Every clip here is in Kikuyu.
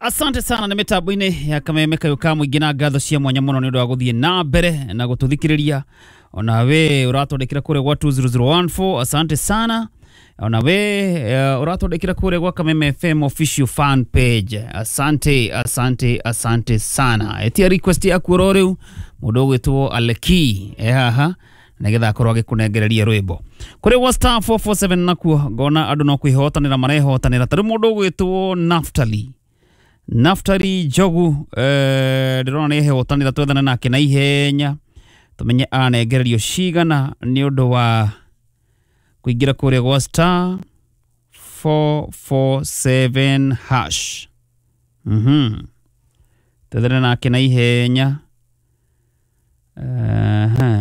Asante sana nä mä tambo-inä ya kameme kayå ka må ingä na ngatho cia mwanya må no nä å ndå wa gå thiä na mbere na gå tå thikä rä ria ona we å ratwandä kä ra kå rä a gwa 20014, asante sana. Ona we å ratwandä kä ra kå rä a gwa Kameme FM official fan page, asante, asante, asante sana. Etia request yaku oro rä u må ndå å gwä two Aleki e haha nĩgetha akorwo agĩkũnengereria rwĩmbo kũrĩ gwa star 447. Nakuo ngona andũ no kwĩhotanĩra marehotanĩra tarĩ mũndũ ũgwĩtwo Naftali, Naftali Njogu, ndĩrona nĩ ehotanĩra. Twethane nake na ihenya tũmenye anengererio cigana nĩ ũndũ wa kũingĩra kũrĩa gwa star 447 hash. Twethane nake na ihenya.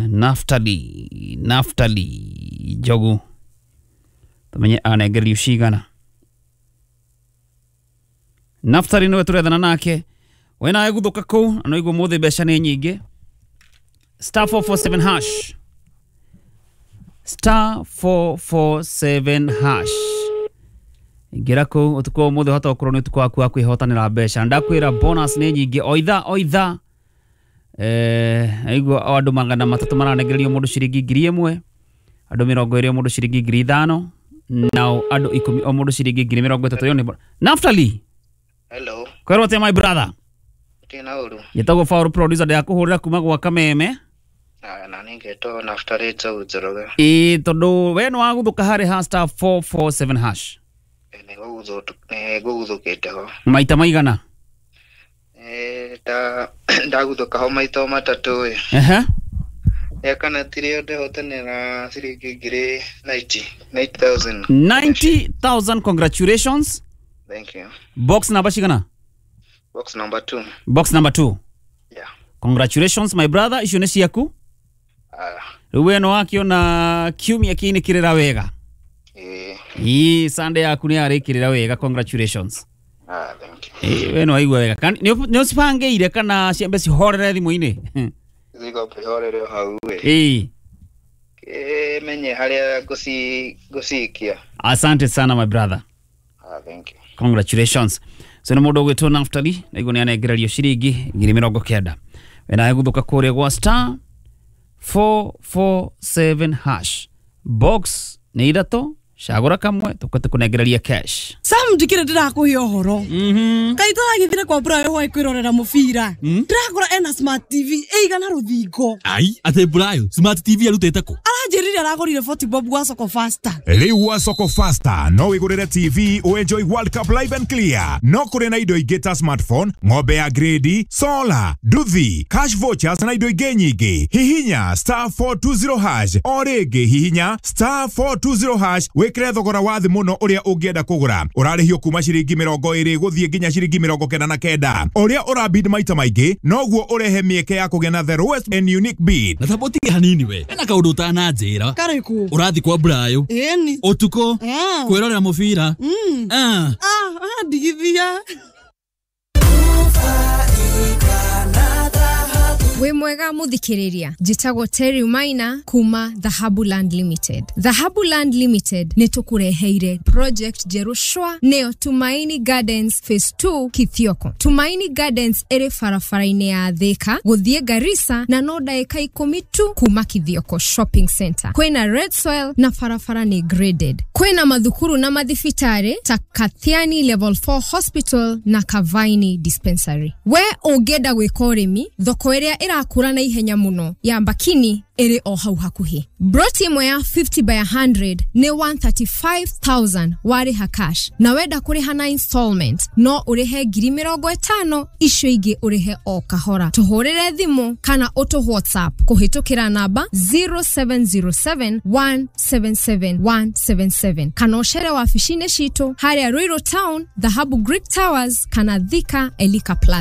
Naftali, Naftali Njogu, tũmenye anengererio cigana. Naftali nĩwe tũrethana nake. We nawe guthũka kũu na noigua mũthĩ mbeca nĩ nyingĩ. Star 447 hash, star 447 hash, ingĩra kũu. Ũtukũ wa ũmũthĩ ũhota gũkorwo nĩ ũtukũ waku wa kwĩhotanĩra mbeca. Ndakwĩra bonus nĩ nyingĩ o ithaa o ithaa. Aigua o andũ 300 maranengererio mũndũ ciringi 1,000, andũ 20 o mũndũ ciringi 5,000, nao andũ 10 o mũndũ ciringi 30,000. Ĩyo nĩ Naftali. Hello. Kwĩrwo atĩa, my brother? Tina uru. Njĩtagwo Paul producer, ndĩrakũhũrĩra kuma gwa Kameme. Na ningetwo Naftali Njogu Njoroge. Ĩĩ, tondũ we nĩ wagũthũka harĩ ha star 447 hash. Nĩ ngũguthũkĩte ho. Maita maigana? Ta ndaguthũka ho maita o matatũ ĩ. Ya kana tirĩo ndehotanĩra ciringi ngiri 90, 90,000. 90,000, congratulations. Thank you. Box namba cigana? Box number 2. Box number 2. Yeah. Congratulations, my brother, icio nĩ ciaku. Ah. Rĩu we nĩ wakĩona kiumia kĩinĩkĩrĩra wega. Ĩĩ. Ĩĩ, Sunday yaku nĩ yarĩkĩrĩra wega, congratulations. Ah, thank you. Ĩĩ, we nĩ waigua wega. Nĩ ũcibangĩire kana ciambe cihorere thimũ-inĩ? Thiko ihorere o hau ĩ. Kĩmenye harĩa ngũcikia. Asante sana, my brother. Ah, thank you. Congratulations. So nĩ mũndũ ũgwĩtwo Naftali naiguo nĩ anengererio ciringi 90,000. We nawe gũthũka kũrĩa gwa star 447 hash, box nĩ ithatũ, cagũra kamwe tũkote kũnengereria cash. Sam, ndikire ndirakuhe ũhoro. Kaĩ tũragĩthire kwa Burayo hwaĩ kwĩrorera mũbira, ndĩrakora ena smart TV ĩigana rũthingo. Ai, atĩ Burayo smart TV arutĩte kũ? Aranjĩrire aragũrire 40 bob gwa Soko Faster. Rĩu gwa Soko Faster no wĩgũrĩre TV ũenjoy World Cup live and clear. No kũrĩ na indo ingĩ ta smartphone, ng'ombe ya grade, solar, nduthi, cash vouchers na indo ingĩ nyingĩ. Hihinya star 420 hash o rĩngĩ, hihinya star 420 hash wĩkĩre thogora wa thĩ mũno ũrĩa ũngĩenda kũgũra. Ũrarĩhio kuma ciringi 20 gũthiĩ nginya ciringi 99. O ũrĩa ũrabid maita maingĩ noguo ũrehe mĩeke ya kũgĩa na the lowest and unique bid. Na tamba ũtige hanini, we ena kaũndũ ũtananjĩra. Karĩkũ? Ũrathi kwa Burayo Ĩni. ũtukũ Ah. kwĩrorera mũbira? Ah. Ah, ndigithia. Wĩ mwega mũthikĩrĩria, njĩtagwo Terry Maina kuma Dhahabu Land Limited. Dhahabu Land Limited nĩ tũkũreheire project njerũ shwa, nĩyo Tumaini Gardens Phase 2 Kithioko. Tumaini Gardens ĩrĩ barabara-inĩ ya Thika gũthiĩ Garissa na no ndagĩka 10 tu kuma Kithioko Shopping Center. Kwĩna red soil na barabara nĩ graded. Kwĩna mathukuru na mathibitarĩ ta Kathiani Level 4 Hospital na Kavaini Dispensary. We ũngĩenda gwĩka ũrĩmi, thoko ĩrĩa ĩrakũra na ihenya mũno ya Mbakini ĩrĩ o hau hakuhĩ. Broti ĩmwe ya 50 by 100 nĩ 135,000 warĩha cash, na wenda kũrĩha na installment no ũrĩhe 50,000, icio ingĩ ũrĩhe o kahora. Tũhũrĩre thimũ kana ũtũ WhatsApp kũhĩtũkĩra namba 0707 177 177 kana ũcere wabici-inĩ citũ harĩa Ruiru Town, Dhahabu Greek Towers kana Thika Elika Plaza.